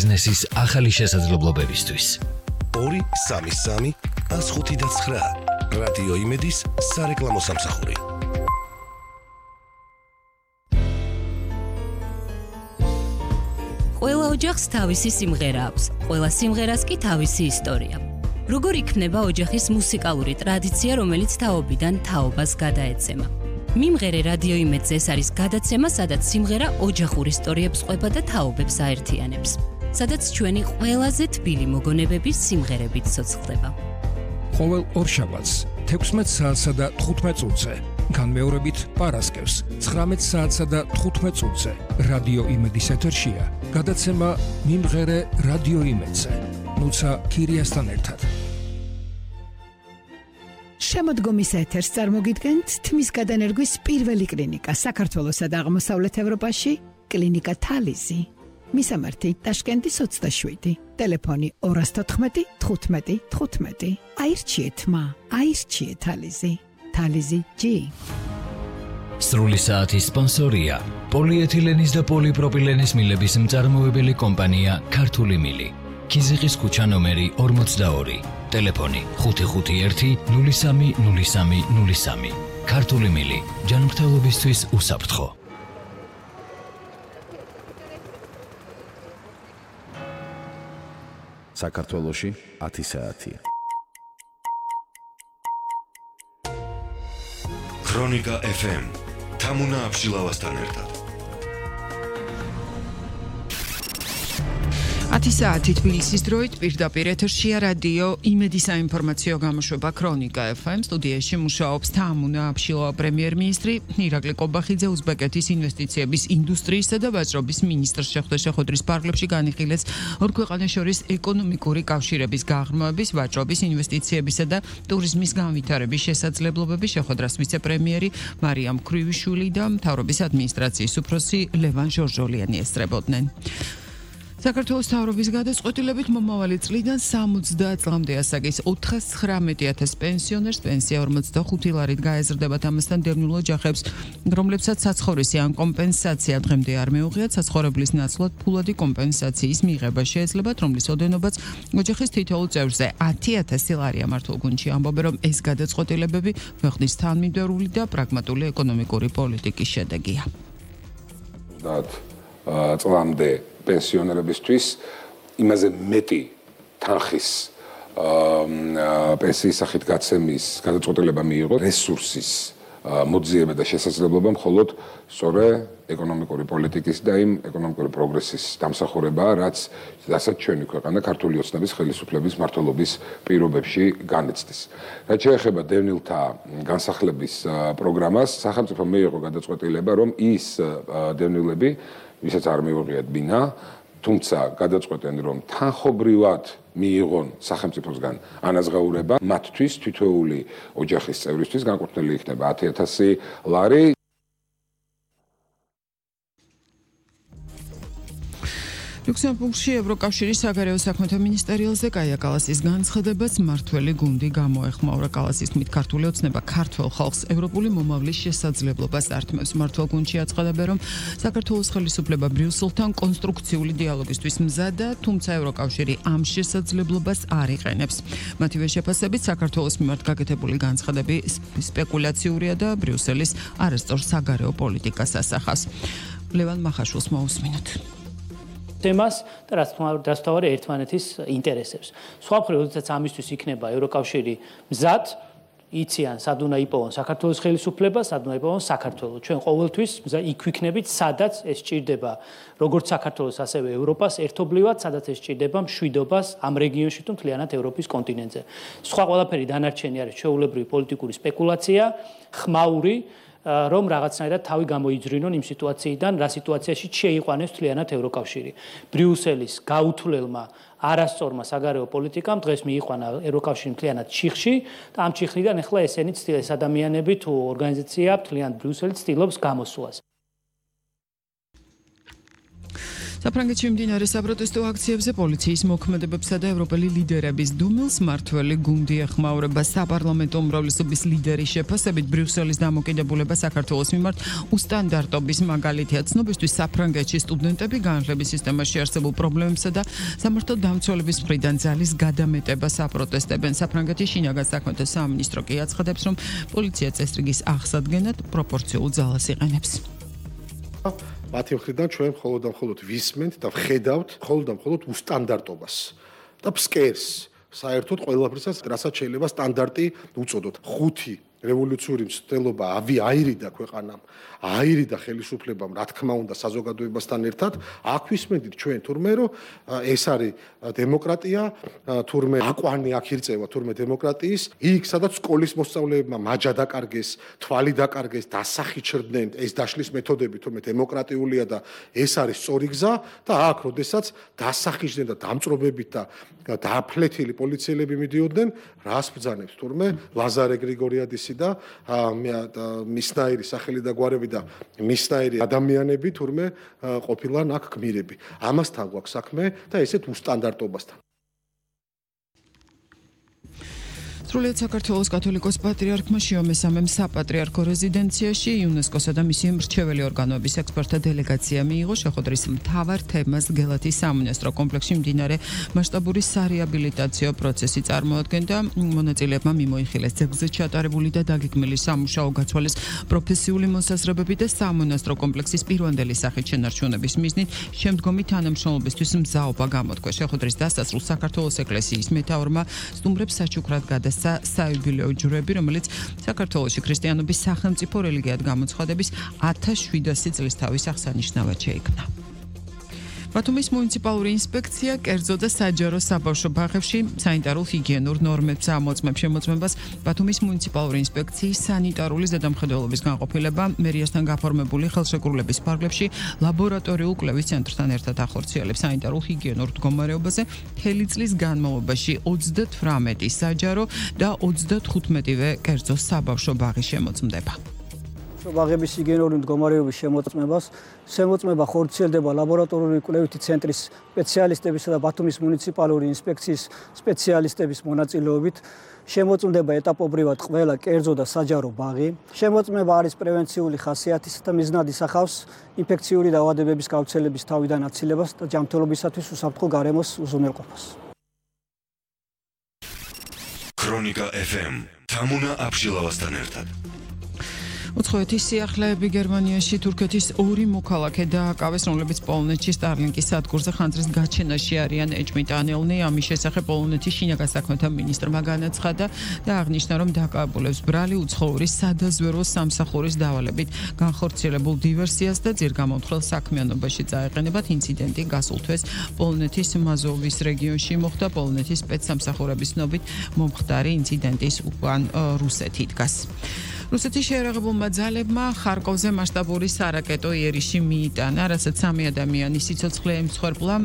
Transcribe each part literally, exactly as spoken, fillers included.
ბიზნესის ახალი შესაძლებლობებისთვის. ორი სამი სამი ას ხუთი და ცხრა რადიო იმედის სარეკლამო სამსახური. ყველა ოჯახს თავისი სიმღერა აქვს, ყველა სიმღერას კი თავისი ისტორია. როგორ იქნება ოჯახის მუსიკალური ტრადიცია, რომელიც თაობიდან თაობას გადაეცემა? მიმღერე რადიო იმედზე ეს არის გადაცემა, სადაც სიმღერა ოჯახურ ისტორიებს ყვება და თაობებს აერთიანებს. სადაც ჩვენი ყველაზე თბილი მოგონებების სიმღერებით ცოცხლდება. ყოველ ორშაბათს თექვსმეტ საათსა და თხუთმეტ წუთზე, განმეორებით პარასკევს ცხრამეტ საათსა და თხუთმეტ წუთზე რადიო იმედის ეთერშია გადაცემა მიმღერე რადიო იმედზე. ნუცა ქირიასთან ერთად. შემოდგომის ეთერს წარმოგიდგენთ თმის გადანერგვის პირველი კლინიკა საქართველოსა და აღმოსავლეთ ევროპაში, კლინიკა თალიზი. მისამართი ტაშკენტის ოცდაშვიდი, ტელეფონი ორას თოთხმეტი თხუთმეტი თხუთმეტი. აირჩიეთ მა, აირჩიეთ თალიზი. თალიზი ჯი. სრული საათის სპონსორია პოლიეთილენის და პოლიპროპილენის მილების მწარმოებელი კომპანია ქართული მილი. ქიზიყის ქუჩა ნომერი ორმოცდაორი, ტელეფონი ხუთი ხუთი ერთი ნული სამი ნული სამი ნული სამი. ქართული მილი, ჯანმრთელობისთვის უსაფრთხო. საქართველოში ათი საათია. ქრონიკა ეფ ემ თამუნა აბშილავასთან ერთად. ათი საათი თბილისის დროით პირდაპირ ეთერშია რადიო იმედის საინფორმაციო გამოშვება ქრონიკა ეფ ემ. სტუდიაში მუშაობს თამუნა აბშილავა პრემიერ-მინისტრი, ირაკლი ყობახიძე უზბეკეთის ინვესტიციების ინდუსტრიისა და ვაჭრობის მინისტრს შეხვდა შეხვედრის ფარგლებში განიხილეს ორ ქვეყანას შორის ეკონომიკური კავშირების გაღრმავების, ვაჭრობის, ინვესტიციებისა და ტურიზმის განვითარების შესაძლებლობები. შეხვედრას ვიცე-პრემიერი მარიამ ქრივიშვილი და მთავრობის ადმინისტრაციის უფროსი ლევან ჟორჟოლიანი ესწრებოდნენ. საქართველოს მთავრობის გადაწყვეტილებით მომავალი წლიდან სამოცდა წლამდე ასაკის ოთხას ცხრამეტი ათას პენსიონერს პენსია ორმოცდახუთი ლარით გაეზრდებათ. ამასთან დევნილ ოჯახებს, რომლებსაც საცხოვრისი ან კომპენსაცია დღემდე არ მეუღიათ, საცხოვრებლის ნაცვლად ფულადი კომპენსაციის მიღება შეეძლებათ, რომლის ოდენობაც ოჯახის თითოეულ წევრზე ათი ათასი ლარია. მართლ გუნჩი ამბობენ, რომ ეს გადაწყვეტილებები ქვეყნის თანმიმდევრული და პრაგმატული ეკონომიკური პოლიტიკის შედეგია. წლამდე პენსიონერებისთვის იმაზე მეტი თანხის პენსიის სახით გაცემის გადაწყვეტილება მიიღო რესურსის მოძიება და შესაძლებლობა მხოლოდ სწორე ეკონომიკური პოლიტიკის და იმ ეკონომიკური პროგრესის დამსახურებაა, რაც რასაც ჩვენი ქვეყანა ქართული ოცნების ხელისუფლების მმართველობის პირობებში განიცდის. რაც შეეხება დევნილთა განსახლების პროგრამას, სახელმწიფო მიიღო გადაწყვეტილება, რომ ის დევნილები, ვისაც არ მიუღიათ ბინა, თუმცა გადაწყვეტენ, რომ თანხობრივად მიიღონ სახელმწიფოსგან ანაზღაურება, მათთვის თითოეული ოჯახის წევრისთვის განკუთვნილი იქნება ათი ათასი ლარი. ლუქსემბურგში ევროკავშირის საგარეო საქმეთა მინისტერიალზე კაია კალასის განცხადებას მმართველი გუნდი გამოეხმაურა. კალასის თქმით, ქართული ოცნება ქართველ ხალხს ევროპული მომავლის შესაძლებლობას ართმევს. მმართველ გუნდში აცხადებენ, რომ საქართველოს ხელისუფლება ბრიუსელთან კონსტრუქციული დიალოგისთვის მზადა, თუმცა ევროკავშირი ამ შესაძლებლობას არ იყენებს. მათივე შეფასებით, საქართველოს მიმართ გაკეთებული განცხადები სპეკულაციურია და ბრიუსელის არასწორ საგარეო პოლიტიკას ასახავს. ლევან მახაშვილს მოусმინოთ. თემას და რაც თვარი ერთმანეთის ინტერესებს. სხვა მხრივ, როდესაც ამისთვის იქნება ევროკავშირი მზად, იციან სად უნდა იპოვონ საქართველოს ხელისუფლება, სად უნდა იპოვონ საქართველო. ჩვენ ყოველთვის იქ ვიქნებით, სადაც ეს სჭირდება როგორც საქართველოს, ასევე ევროპას ერთობლივად, სადაც ეს სჭირდება მშვიდობას ამ რეგიონში თუ მთლიანად ევროპის კონტინენტზე. სხვა ყველაფერი დანარჩენი არის ჩვეულებრივი პოლიტიკური სპეკულაცია, ხმაური, რომ რაღაცნაირად თავი გამოიძრინონ იმ სიტუაციიდან, რა სიტუაციაში შეიყვანეს მთლიანად ევროკავშირი. ბრიუსელის გაუთვლელმა არასწორმა საგარეო პოლიტიკამ დღეს მიიყვანა ევროკავშირი მთლიანად ჩიხში და ამ ჩიხიდან ახლა ესენი ცდილეს ადამიანები თუ ორგანიზაცია მთლიანად ბრიუსელი ცდილობს გამოსვლას. საფრანგეთში მიმდინარე საპროტესტო აქციებზე პოლიციის მოქმედებებსა და ევროპელი ლიდერების დუმილს მართველი გუნდი ეხმაურება საპარლამენტო უმრავლესობის ლიდერის შეფასებით ბრიუსელის დამოკიდებულება საქართველოს მიმართ უსტანდარტობის მაგალითია. ცნობისთვის საფრანგეთში სტუდენტები განათლების სისტემაში არსებულ პრობლემებსა და სამართალ დამცველების მხრიდან ძალის გადამეტებას აპროტესტებენ. საფრანგეთის შინაგან საქმეთა სამინისტრო კი აცხადებს, რომ პოლიცია წესრიგის აღსადგენად პროპორციულ ძალას იყენებს. მათი მხრიდან ჩვენ მხოლოდ და მხოლოდ ვისმენთ და ვხედავთ მხოლოდ და მხოლოდ უსტანდარტობას და ფსკერს საერთოდ ყველაფერსაც, რასაც შეიძლება სტანდარტი უწოდოთ. ხუთი რევოლუციური მცდელობა ავი აირიდა ქვეყანამ, აირიდა ხელისუფლებამ, რა თქმა უნდა, საზოგადოებასთან ერთად. აქ ვისმენთ ჩვენ თურმე რომ ეს არის დემოკრატია, თურმე აკვანი აქ ირწევა თურმე დემოკრატიის, იქ სადაც სკოლის მოსწავლეებმა მაჯა დაკარგეს, თვალი დაკარგეს, დასახი ჩრდნენ, ეს დაშლის მეთოდები თურმე დემოკრატიულია და ეს არის სწორი გზა და აქ როდესაც დასახიჯდნენ და დამწრობებით და დააფლეთილი პოლიციელები მიდიოდნენ, რას ბრძანებს თურმე ლაზარე გრიგორიადისი და მისნაირი სახელი და გვარები და მისნაირი ადამიანები თურმე ყოფილან აქ გმირები. ამასთან გვაქვს საქმე და ესეთ უსტანდარტობასთან. სრულიად საქართველოს კათოლიკოს პატრიარქმა შიომესამემ საპატრიარქო რეზიდენციაში იუნესკოსა და მისი მრჩეველი ორგანოების ექსპერტთა დელეგაცია მიიღო. შეხვედრის მთავარ თემას გელათის სამონასტრო კომპლექსში მიმდინარე მასშტაბური სარეაბილიტაციო პროცესი წარმოადგენდა. მონაწილეებმა მიმოიხილეს ძეგლზე ჩატარებული და დაგეგმილი სამუშაო გაცვალეს პროფესიული მოსაზრებები და სამონასტრო კომპლექსის პირვანდელი სახით შენარჩუნების მიზნით შემდგომი თანამშრომლობისთვის მზაობა გამოთქვა. შეხვედრის დასასრულს საქართველოს ეკლესიის მეთაურმა სტუმრებს საჩუქრად გადასცა საიუბილეო ჯვრები, რომელიც საქართველოში ქრისტიანობის სახელმწიფო რელიგიად გამოცხადების ათას შვიდასი წლის თავის აღსანიშნავად შეიქმნა. ბათუმის მუნიციპალური ინსპექცია კერძო და საჯარო საბავშვო ბაღებში სანიტარულ ჰიგიენურ ნორმებს ამოწმებს. შემოწმებას ბათუმის მუნიციპალური ინსპექციის სანიტარული ზედამხედველობის განყოფილება მერიასთან გაფორმებული ხელშეკრულების ფარგლებში ლაბორატორიულ კვლევის ცენტრთან ერთად ახორციელებს. სანიტარულ ჰიგიენურ მდგომარეობაზე მთელი წლის განმავლობაში ოცდათვრამეტი საჯარო და ოცდათხუთმეტივე კერძო საბავშვო ბაღი შემოწმდება. ბაღების ჰიგიენური მდგომარეობის შემოწმებას შემოწმება ხორციელდება ლაბორატორიული კვლევითი ცენტრის სპეციალისტებისა და ბათუმის მუნიციპალური ინსპექციის სპეციალისტების მონაწილეობით. შემოწმდება ეტაპობრივად ყველა კერძო და საჯარო ბაღი. შემოწმება არის პრევენციული ხასიათის და მიზნად ისახავს ინფექციური დაავადებების გავრცელების თავიდან აცილებას და ჯანმრთელობისათვის უსაფრთხო გარემოს უზრუნველყოფას. ქრონიკა ეფ ემ თამუნა აბშილავასთან ერთად. უცხოეთის სიახლეები გერმანიაში თურქეთის ორი მოქალაქე დააკავეს, რომლებიც პოლონეთში სტარლინკის სადგურზე ხანძრის გაჩენაში არიან. ეჭვმიტანილნი ამის შესახებ პოლონეთის შინაგან საქმეთა მინისტრმა განაცხადა და აღნიშნა, რომ დაკავებულებს ბრალი უცხოური სადაზვერვო სამსახურის დავალებით განხორციელებულ დივერსიას და ძირგამომთხელ საქმიანობაში წაეყენებათ. ინციდენტი გასულ თვეს პოლონეთის მაზოვის რეგიონში მოხდა. პოლონეთის სპეცსამსახურების ცნობით მომხდარი ინციდენტის უკან რუსეთი დგას. რუსეთის შეერაღებულმა ძალებმა ხარკოვზე მასშტაბური სარაკეტო იერიში მიიტანა, რასაც სამი ადამიანის სიცოცხლე ემსხვერპლა.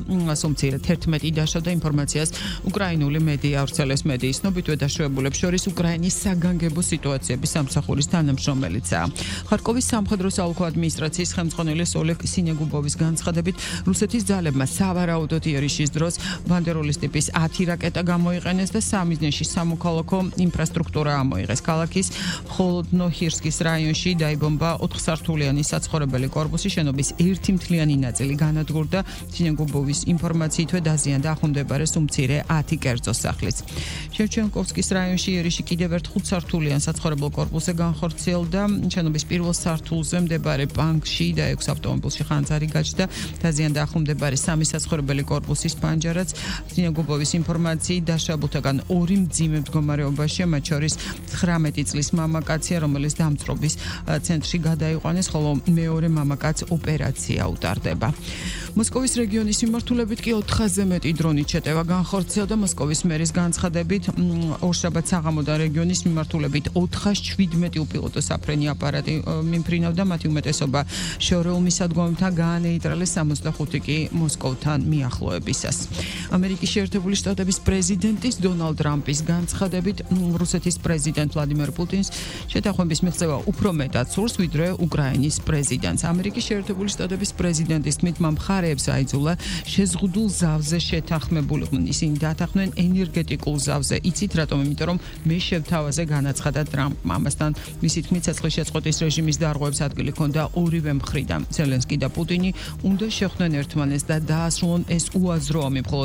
სუმცირად თერთმეტი დაშავდა. ინფორმაციას უკრაინული მედია ავრცელებს. მედიის ცნობითვე დაშავებულებს შორის უკრაინის საგანგებო სიტუაციების სამსახურის თანამშრომელიცაა. ხარკოვის სამხედრო საოლქო ადმინისტრაციის ხელმძღვანელის ოლეგ სინეგუბოვის განცხადებით, რუსეთის ძალებმა სავარაუდოდ იერიშის დროს ბანდეროლის ტიპის ათი რაკეტა გამოიყენეს და სამიზნეში სამოქალაქო ინფრასტრუქტურა ამოიღეს. ქალაქის მხოლოდ ნოჰირსკის რაიონში დაიბომბა ოთხსართულიანი საცხოვრებელი კორპუსი. შენობის ერთი მთლიანი ნაწილი განადგურდა. სინეგუბოვის ინფორმაციითვე დაზიანდა ახლომდებარე სუმცირე ათი კერძო სახლის. შევჩენკოვსკის რაიონში იერიში კიდევ ერთ ხუთსართულიან საცხოვრებელ კორპუსზე განხორციელდა. შენობის პირველ სართულზე მდებარე ბანკში და ექვს ავტომობილში ხანძარი გაჩნდა. დაზიანდა ახლომდებარე სამი საცხოვრებელი კორპუსის პანჯარაც. სინეგუბოვის ინფორმაციით დაშავებულთაგან ორი მძიმე მდგომარეობაშია, მათ შორის ცხრამეტი წლის მამაკაცია, რომელიც დამწრობის ცენტრში გადაიყვანეს, ხოლო მეორე მამაკაც ოპერაცია უტარდება. მოსკოვის რეგიონის მიმართულებით კი ოთხასზე მეტი დრონით შეტევა განხორციელდა. მოსკოვის მერის განცხადებით, ორშაბათ საღამოდან რეგიონის მიმართულებით ოთხასშვიდმეტი უპილოტო საფრენი აპარატი მიმფრინავდა. მათი უმეტესობა შორეულ მისადგომებთან გაანეიტრალეს, სამოცდახუთი კი მოსკოვთან მიახლოებისას. ამერიკის შეერთებული შტატების პრეზიდენტის დონალდ ტრამპის განცხადებით, რუსეთის პრეზიდენტ ვლადიმერ პუტინს შეთანხმების მიღწევა უფრო მეტად სურს, ვიდრე უკრაინის პრეზიდენტს. ამერიკის შეერთებული შტატების პრეზიდენტის თქმით, მან მხარეებს აიძულა შეზღუდულ ზავზე შეთანხმებულიყვნენ. ისინი დათანხმდნენ ენერგეტიკულ ზავზე. იცით რატომ? იმიტომ რომ მე შევთავაზე განაცხადა ტრამპმა. ამასთან მისი თქმით, ცეცხლის შეწყვეტის რეჟიმის დარღვევებს ადგილი ჰქონდა ორივე მხრიდან. ზელენსკი და პუტინი უნდა შეხვდნენ ერთმანეთს და დაასრულონ ეს უაზრო ომი. მხოლოდ